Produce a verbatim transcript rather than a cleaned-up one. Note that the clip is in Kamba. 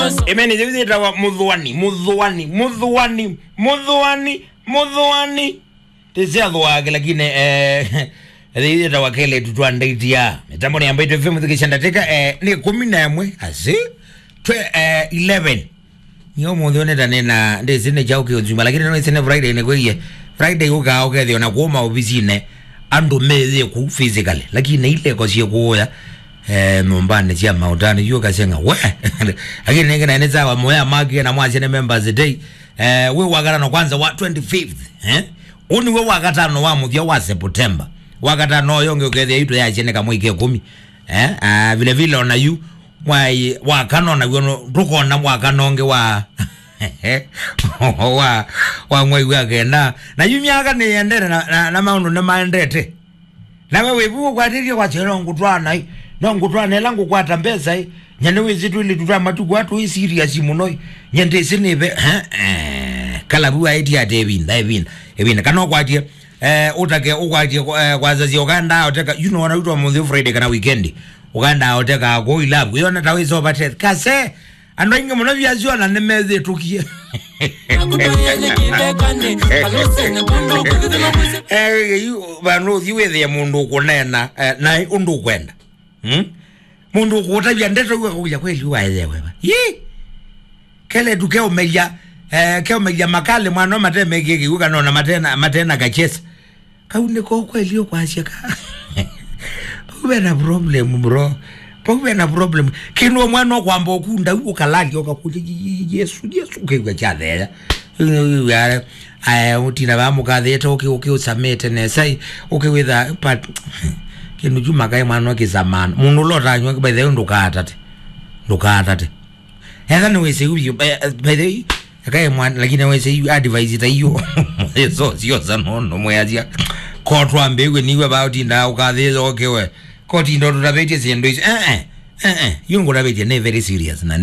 Amen. Ĩthaũ yĩtawa mũthũani, mũthũani, mũthũani, mũthũani, mũthũani. Tĩsyathũake, lakini, eh, ĩthaũ yĩtawa Kele Tutwa Ndaitia. Mĩtambo nĩ ya Mbaitu F M, thikisha ndatĩka, eh, nĩ kũmi na ĩmwe, asi, twe, eh, eleven. Nĩ ũmũnthĩ ũnĩtane na ndĩsĩ nĩ kyaũ kĩũnzuma, lakini no ĩsĩ nĩ Friday nĩ kwĩie. Friday ũkaa ũkethĩwa na kũũ maovisinĩ, andũ meyĩ kũu physically, lakini ileko syĩ kũũya, eh, nyũmbanĩ sya maũtani, yu ũkaseng'a, we! Lakini nĩngĩ naĩ nĩ sawa, mũya makie na mwasya nĩ Members Day. Eh, wĩ wakatano kwanza wa twenty-fifth, eh? Ũũ nĩw'o wakatano wa mũthya wa September. Wakatano ũyũ ũngĩ ũkethĩa itũ yasyeneka mwei ke kũmi. Eh, ah, vile vile ona yu, mwai wa kana ona w'o no-, ndũkona mwaka nonge wa, wa, wa mwai wa kenda. Na yu myaka nĩyendete na, na, na maũndũ nĩmaendete. Nawe wĩvu ũkwatĩtye kwasya, "No ngũtwaa naĩ, no ngũtwaa na ĩla ngũkwata mbesa ĩ." Nyie nĩwĩsĩ twĩlĩtu twa matukũ aa tũĩ serious mũno ĩ. Nyie ndĩsĩ nĩve, eh, eh, kalavu aĩtye atĩ ĩvinda, ĩvinda, ĩvinda. Kana ũkwatie, eh, ũtake, ũkwatie, eh, kwasasya ũkaendaa ũteka, you know, ona witwa mũnthĩ Friday kana weekend. Ũkaendaa ũteka kũu ilavu. Yona ta wĩsova test. Kase, andũ aingĩ mũno vyasyo na nĩmethĩtũkie. Eh, yu, vandũ ũthi wĩthĩe mũndũ ũkũneena, eh, na ũndũ ũkwenda. Hmm? Mũndũ ũkũtavya ndeto yu akũkũlya kweli waelewe va. Yi! Kele tu keũmelya, eh, keũmelya makali mwana matemekie kĩw'ũ kana ona matena, matena kachesa. Kau nĩko kweli ũkwasya ka. Pau ve na problem, bro. Pau ve na problem. Kĩndũ mwana ũkwamba ũkunda u ũkalalya ũkakũlya, "Yi-, yi-, Yesu, Yesu," ũkĩw'a kyatheea. Aya, ũtina vaa mũkathĩte, ũkĩ, ũkĩ ũsamĩte nesa, ĩ, ũkĩwĩtha, but, kĩndũ kyu makaĩ mwana ũkĩsamana. Mũndũ ũla ũtanywa, by the way, ndũkaatate. Ndũkaatate. Etha nĩwĩsĩ yu, eh, by the way, ekae mwana, lakini wĩsĩ yu advice ta iyo. Eso, sio sana, no, no, mwĩasya. Ko twambĩw'e niwe va ũtindaa ũkathĩĩtha ũkĩwe. Ko tinda ũtũtavĩtye syĩndũ isu. Eh, eh, eh, eh. Yu ngũtavĩtye nĩ very serious na